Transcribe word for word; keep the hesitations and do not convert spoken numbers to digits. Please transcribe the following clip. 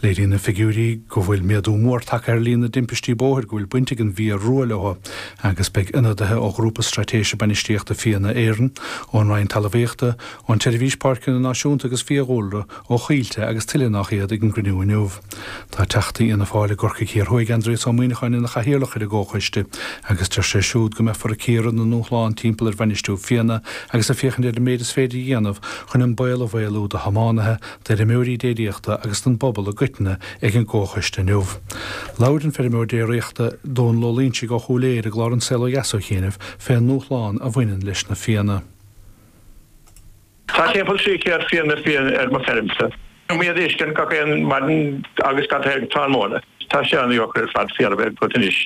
Léiríonn na figiúirí go bhfuil méadú mór tagtha ar líon na dtimpistí bóthair go bhfuil baint ag an bhfia rua leo agus beidh ionadaithe ó Ghrúpa Straitéise Bainistíochta Fianna Éireann, ón Roinn Talmhaíochta, ón Tseirbhís Páirceanna Náisiúnta agus Fiadhúlra, ó Choillte agus tuilleadh nach iad ag an gcruinniú inniu. Tá Teachta Fhianna Fáil i gCorcaigh Thiar Thuaidh Aindrias Ó Muimhneacháin ina chathaoirleach ar an gcomhchoiste agus deir sé siúd go mbeifear ag cíoradh na ndúshlán timpeall ar bhainistiú fianna agus ag féachaint ar an méid is féidir a dhéanamh chun an baol a mhaolú do thiománaithe, d'fheirmeoirí déiríochta agus don bpobal i gcoitinne ag an gcomhchoiste inniu. Labhair an feirmeoir déiríochta Dónal Ó Loingsigh ó Chúil Aodha i gclár An Saol Ó Dheas ó chianaibh fén ndúshlán a bhaineann leis na fianna. Tá timpeall trí chéad fianna fiáin ar mo feirmse. Iad a uisceann gach aon maidin agus gach aon tráthnóna. Tá sé an-deacair ar fad fianna a bheith agat anois.